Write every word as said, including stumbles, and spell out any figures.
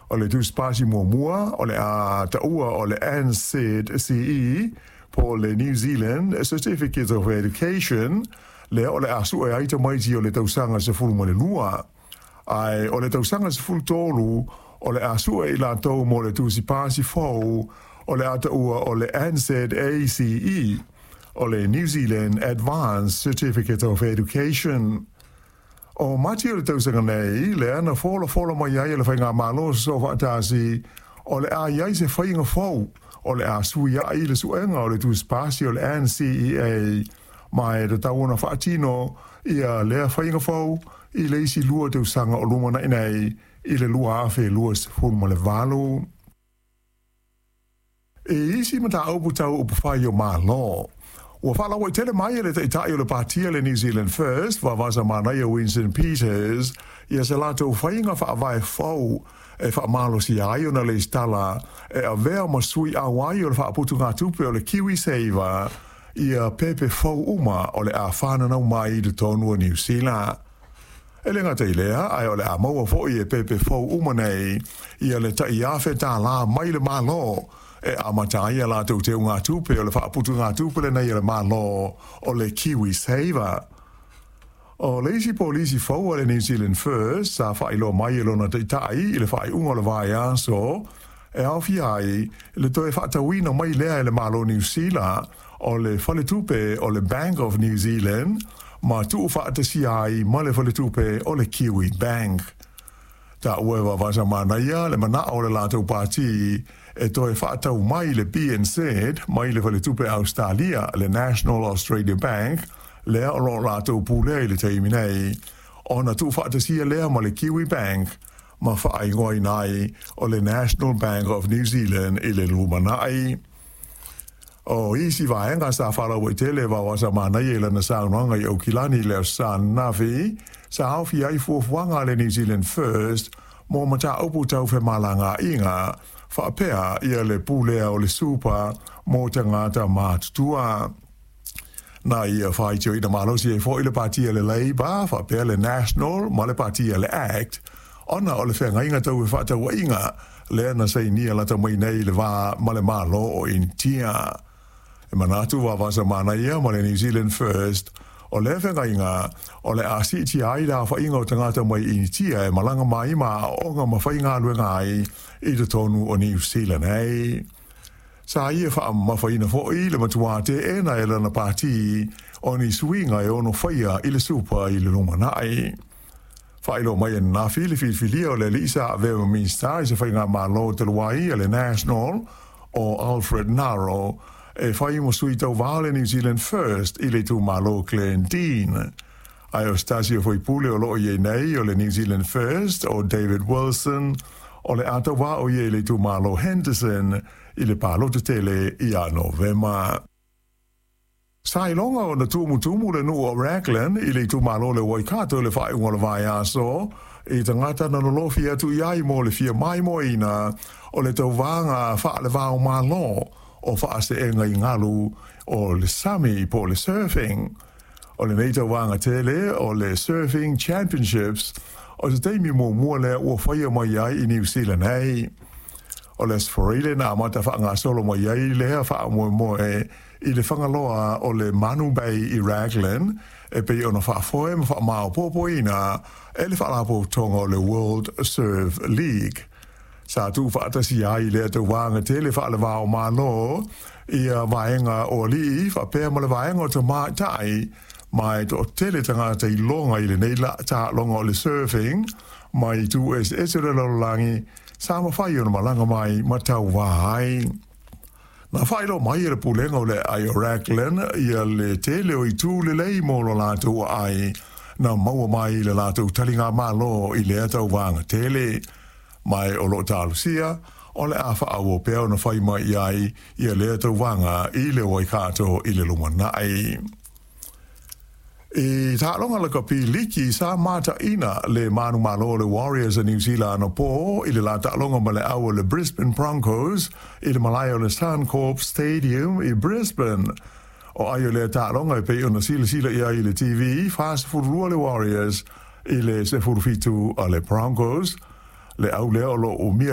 O le tusipasi muamua o le a taua o le N Z C E po o le New Zealand Certificate of Education, lea o le a sue ai tamaiti o le tausaga sefulu ma le lua. Ae o le tausaga sefulu tolu o le a sue i latou mo le tusipasi fou o le a taua o le N Z A C E, o le New Zealand Advanced Certificate of Education. O Mati o le tausaga nei, lea na folafola mai ai e le faigamalo so faatasi o le a iai se faiga fou o le a sui ai le suega o le tusipasi o le N C E A, ma e tatau ona faatino ia lea faiga fou i le isi lua tausaga o lumanai nei i le lua afe lua sefulu ma le valu. E isi mataupu tau upufai o Malo. Ua faalauaitele mai e le taʻitaʻi o le patia le New Zealand First, vavasa manaia Winston Peters, ia se latou faiga faavae fou e faamalosia ai ona lesitala e avea ma sui auai o le faaputugatupe o le KiwiSaver ia pepe fou uma o le a fananau mai i totonu o Niu Sila. E le gata i lea, ae o le a maua foʻi e pepe fou uma nei ia le taʻiafe tālā mai le Malo e amata ai a latou teugatupe o le faaputugatupe lenei e le Malo o le KiwiSaver. O le isi polisi fou a le New Zealand First sa faailoa mai e lona taʻitaʻi i le faaiuga o le vaiaso e aofia ai le toe faatauina mai lea e le Malo Niu Sila o le faletupe o le Bank of New Zealand ma tuufaatasia ai ma le faletupe o le Kiwi Bank. Taua e vavasa manaia le manao o le latou pati e toe faatau mai le B N Z mai le faletupe Australia le National Australia Bank lea o loo latou pulea i le taimi nei ona tuufaatasia lea ma le Kiwi Bank ma faaigoaina ai o le National Bank of New Zealand i le lumanai. O isi vaega sa faalauaitele vavasa manaia i lana saunoaga i Aukilani le aso Sa ananafi sa aofia ai fuafuaga a le New Zealand First mo mataupu tau femalagaaiga faapea ia le pulea o le supa mo tagata matutua. Na ia faitioina malosi ai foʻi le patia le Labour faapea le National ma le patia le Act ona o le feagaiga tau e faatauaiga lea na sainia lata mai nei le va ma le Malo o Initia. E manatu vavasa manaia ma le New Zealand First o lea feagaiga o le a siitia ai le aofaiga o tagata mai Initia e malaga mai ma aooga ma faigaluega ai i totonu o Niu Sila nei. Sa ia faamamafaina foʻi le matuā teena e lana pati o ni suiga e ono faia i le supa i le lumanai. Faailoa mai ananafi le filifilia o le alii sa avea ma Minista i se faigamalo talu ai a le National o Alfred Ngaro e fai ma sui tauvā o le New Zealand First i le itumalo Glendene. Ae o se tasi o faipule o loo iai nei o le New Zealand First o David Wilson o le a tauvā o ia i le itumalo Henderson i le palota tele ia Novema. Sa iloga ona tumutumu le nuu o Raglan i le itumalo le Waikato i le faaiuga o le vaiaso i tagata na lolofi atu i ai mo le fia maimoaina o le tauvaga faale-va-o-Malo o faaseega i galu o le sami po o le surfing. O lenei tauvaga tele o le Surfing Championships o se taimi muamua lea ua faia mai ai i Niu Sila nei. O le Aso Faraile na amata faagasolo mai ai lea faamoemoe i le fagaloa o le Manu Bay i Raglan e pei ona faafoe ma faamaopoopoina e le faalapotopotoga o le World Surf League. Sa tuufaatasia ai lea tauvaga tele faale-va-o-Malo ia vaega o alii faapea ma le vaega o tamaitai ma e toatele tagata iloga i lenei taaloga o le surfing mai itu eseese o le lalolagi sa mafai ona malaga mai ma tauvā ai. Na faailoa mai e le pulega o le aai o Raglan ia le tele o itu lelei mo lo latou aai na maua mai i le latou taligamalo i lea tauvaga tele. Mai o loo talosia o le a faaauau pea ona fai mai i ai ia lea tauvaga i le Waikato i le lumanai. I taaloga lakapi liki sa mataʻina le manumalo o le Warriors a Niu Sila anapo i le la taaloga ma le au o le Brisbane Broncos i le malae o le Suncorp Stadium i Brisbane. O ai o lea taaloga e pei ona silasila i ai i le T V, fasefululua le Warriors i le sefurufitu a le Broncos. Le au lea o loo umia